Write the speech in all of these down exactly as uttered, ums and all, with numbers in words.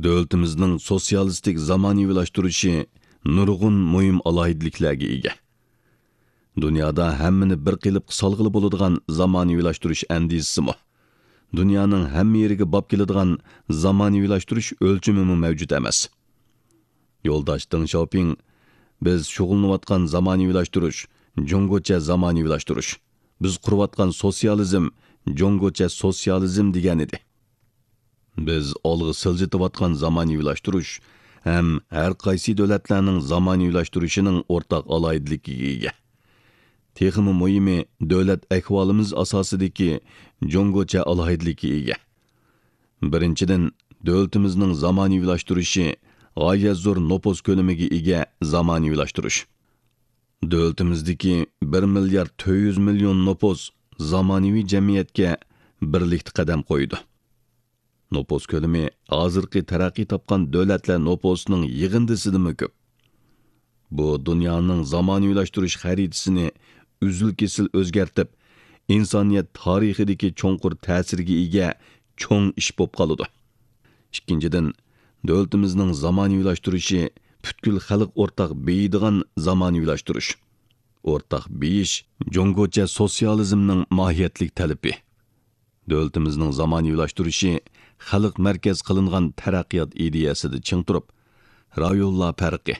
دۆلىتىمىزنىڭ سوتسىيالىستىك زامانىۋىلاشتۇرۇشى نۇرغۇن مۇھىم ئالاھىدىلىكلەرگە ئىگە. دۇنيادا ھەممىنى بىر قېلىپقا سالغىلى بولىدىغان زامانىۋىلاشتۇرۇش ئەندىزىسىمۇ، دۇنيانىڭ ھەممە يېرىگە باب كېلىدىغان زامانىۋىلاشتۇرۇش ئۆلچىمىمۇ مەۋجۇت ئەمەس. يولداش دېڭ شياۋپىڭ، «بىز شۇغۇللىنىۋاتقان زامانىۋىلاشتۇرۇش، جۇڭگوچە زامانىۋىلاشتۇرۇش. بىز قۇرۇۋاتقان سوتسىيالىزم، جۇڭگوچە سوتسىيالىزم» دېگەنىدى. بىز ئالغا سىلجىتىۋاتقان زامانىۋىلاشتۇرۇش ھەم ھەر قايسى دۆلەتلەرنىڭ زامانىۋىلاشتۇرۇشىنىڭ ئورتاق ئالاھىدىلىكىگە ئىگە. تېخىمۇ مۇھىمى، دۆلەت ئەھۋالىمىز ئاساسىدىكى جۇڭگوچە ئالاھىدىلىككە ئىگە. بىرىنچىدىن، دۆلىتىمىزنىڭ زامانىۋىلاشتۇرۇشى غايەت زور نوپۇس كۆلىمىگە ئىگە زامانىۋىلاشتۇرۇش. دۆلىتىمىزدىكى بىر مىليارد تۆت يۈز مىليون نوپۇس زامانىۋى جەمئىيەتكە بىرلىكتە قەدەم قويىدۇ. نوپۇس كۆلىمى ھازىرقى تەرەققىي تاپقان دۆلەتلەر نوپۇسىنىڭ يىغىندىسىدىنمۇ كۆپ. بۇ دۇنيانىڭ زامانىۋىلاشتۇرۇش خەرىتىسىنى ئۈزۈل-كېسىل ئۆزگەرتىپ، ئىنسانىيەت تارىخىدىكى چوڭقۇر تەسىرگە ئىگە چوڭ ئىش بولۇپ قالىدۇ. ئىككىنچىدىن، دۆلىتىمىزنىڭ زامانىۋىلاشتۇرۇشى پۈتكۈل خەلق ئورتاق بېيىيدىغان زامانىۋىلاشتۇرۇش. ئورتاق بېيىش جۇڭگوچە سوتسىيالىزمنىڭ ماھىيەتلىك تەلىپى. دۆلىتىمىزنىڭ زامانىۋىلاشتۇرۇشى خەلق مەركەز قىلىنغان تەرەققىيات ئىدىيەسىدە چىڭ تۇرۇپ، رايونلار پەرقى،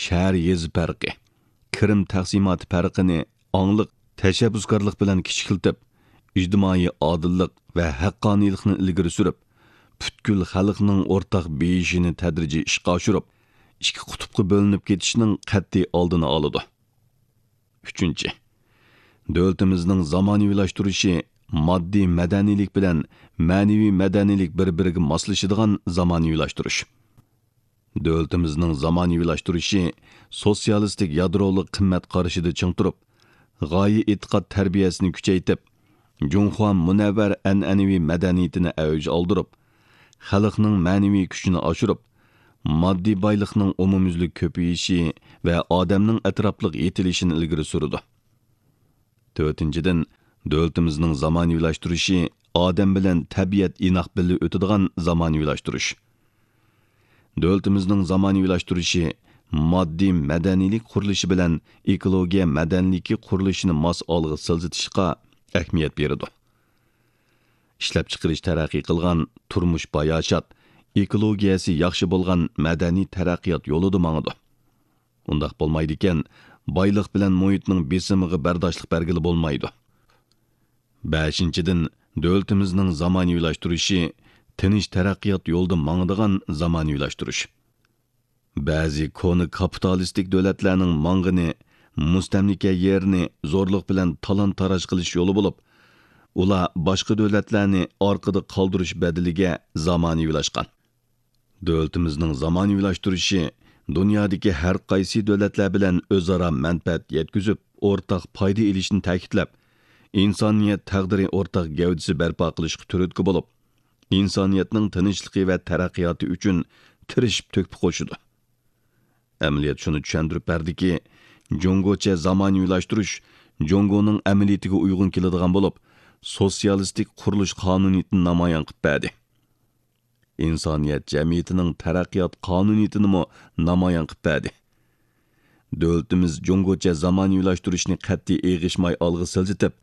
شەھەر-يېزا پەرقى، كىرىم تەقسىماتى پەرقىنى ئاڭلىق، تەشەببۇسكارلىق بىلەن كىچىكلىتىپ، ئىجتىمائىي ئادىللىق ۋە ھەققانىيلىقنى ئىلگىرى سۈرۈپ، پۈتكۈل خەلقنىڭ ئورتاق بېيىشىنى تەدرىجىي ئىشقا ئاشۇرۇپ، ئىككى قۇتۇپقا بۆلۈنۈپ كېتىشنىڭ قەتئىي ئالدىنى ئالىدۇ. ئۈچىنچى، دۆلىتىمىزنىڭ زامانىۋىلاشتۇرۇشى ماددىي مەدەنىيلىك بىلەن مەنىۋى مەدەنىيلىك بىر-بىرىگە ماسلىشىدىغان زامانىۋىلاشتۇرۇش. دۆلىتىمىزنىڭ زامانىۋىلاشتۇرۇشى سوتسىيالىستىك يادرولۇق قىممەت قارىشىدا چىڭ تۇرۇپ، غايە ئېتىقاد تەربىيەسىنى كۈچەيتىپ، جۇڭخۇا مۇنەۋۋەر ئەنئەنىۋى مەدەنىيىتىنى ئەۋج ئالدۇرۇپ، خەلقنىڭ مەنىۋى كۈچىنى ئاشۇرۇپ، ماددىي بايلىقنىڭ ئومۇميۈزلۈك كۆپىيىشى ۋە ئادەمنىڭ ئەتراپلىق يېتىلىشىنى ئىلگىرى سۈرىدۇ. تۆتىنچىدىن، دۆلىتىمىزنىڭ زامانىۋىلاشتۇرۇشى ئادەم بىلەن تەبىئەت ئىناق بىللە ئۆتىدىغان زامانىۋىلاشتۇرۇش. دۆلىتىمىزنىڭ زامانىۋىلاشتۇرۇشى ماددىي مەدەنىيلىك قۇرۇلۇشى بىلەن ئېكولوگىيە مەدەنىيلىكى قۇرۇلۇشىنى ماس ئالغا سىلجىتىشقا ئەھمىيەت بېرىدۇ. ئىشلەپچىقىرىش تەرەققىي قىلغان، تۇرمۇش باياشات، ئېكولوگىيەسى ياخشى بولغان مەدەنىي تەرەققىيات يولىدا ماڭىدۇ. ئۇنداق بولمايدىكەن، بايلىق بىلەن مۇھىتنىڭ بېسىمىغا بەرداشلىق بەرگىلى بولمايدۇ. بەشىنچىدىن، دۆلىتىمىزنىڭ زامانىۋىلاشتۇرۇشى تىنچ تەرەققىيات يولىدا ماڭىدىغان زامانىۋىلاشتۇرۇش. بەزى كونا كاپىتالىستىك دۆلەتلەرنىڭ ماڭغىنى مۇستەملىكە يېرىنى زورلۇق بىلەن تالان-تاراج قىلىش يولى بولۇپ، ئۇلار باشقا دۆلەتلەرنى ئارقىدا قالدۇرۇش بەدىلىگە زامانىۋىلاشقان. دۆلىتىمىزنىڭ زامانىۋىلاشتۇرۇشى دۇنيادىكى ھەر قايسى دۆلەتلەر بىلەن ئۆزئارا مەنپەئەت يەتكۈزۈپ، ئورتاق پايدا ئېلىشنى تەكىتلەپ، ئىنسانىيەت تەقدىرى ئورتاق گەۋدىسى بەرپا قىلىشقا تۈرتكە بولۇپ، ئىنسانىيەتنىڭ تىنچلىقى ۋە تەرەققىياتى ئۈچۈن تىرىشىپ تۆھپە قوشىدۇ. ئەمەلىيەت شۇنى چۈشەندۈرۈپ بەردىكى، جۇڭگوچە زامانىۋىلاشتۇرۇش جۇڭگونىڭ ئەمەلىيىتىگە ئۇيغۇن كېلىدىغان بولۇپ، سوتسىيالىستىك قۇرۇلۇش قانۇنىيىتىنى نامايان قىلىپ بەردى. ئىنسانىيەت جەمئىيىتىنىڭ تەرەققىيات قانۇنىيىتىنىمۇ نامايان قىلىپ بەردى. دۆلىتىمىز جۇڭگوچە زامانىۋىلاشتۇرۇشنى قەتئىي ئېغىشماي ئالغا سىلجىتىپ،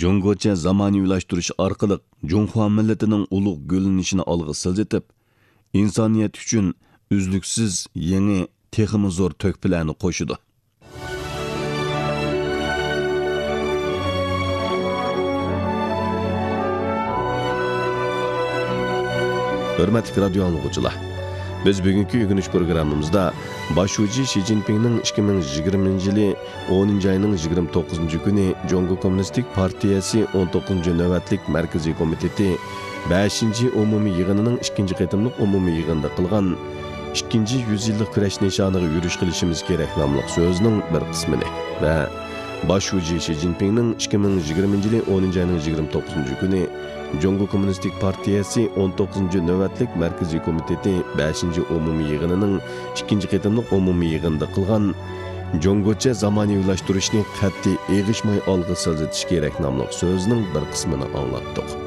جۇڭگوچە زامانىۋىلاشتۇرۇش ئارقىلىق جۇڭخۇا مىللىتىنىڭ ئۇلۇغ گۈللىنىشىنى ئالغا سىلجىتىپ، ئىنسانىيەت ئۈچۈن ئۈزلۈكسىز يېڭى، تېخىمۇ زور تۆھپىلەرنى قوشىدۇ. ھۆرمەتلىك رادىيو ئاڭلىغۇچىلار، بىز بۈگۈنكى ئۆگىنىش پروگراممىمىزدا باش شۇجى شى جىنپىڭنىڭ ئىككى مىڭ يىگىرمىنچى يىلى ئونىنچى ئاينىڭ يىگىرمە توققۇزىنچى كۈنى جۇڭگو كوممۇنىستىك پارتىيەسى ئون توققۇزىنچى نۆۋەتلىك مەركىزىي كومىتېتى بەشىنچى ئومۇمىي يىغىنىنىڭ ئىككىنچى قېتىملىق ئومۇمىي يىغىنىدا قىلغان «ئىككىنچى يۈز يىللىق كۈرەش نىشانىغا يۈرۈش قىلىشىمىز كېرەك» ناملىق سۆزىنىڭ بىر قىسمىنى ۋە باش شۇجى شى جىنپىڭنىڭ ئىككى مىڭ يىگىرمىنچى يىلى ئونىنچى ئاينىڭ يىگىرمە توققۇزىنچى كۈنى جۇڭگو كوممۇنىستىك پارتىيەسى ئون توققۇزىنچى نۆۋەتلىك مەركىزىي كومىتېتى بەشىنچى ئومۇمىي يىغىنىنىڭ ئىككىنچى قېتىملىق ئومۇمىي يىغىنىدا قىلغان «جۇڭگوچە زامانىۋىلاشتۇرۇشنى قەتئىي ئېغىشماي ئالغا سىلجىتىش كېرەك» ناملىق سۆزىنىڭ بىر قىسمىنى ئاڭلاتتۇق.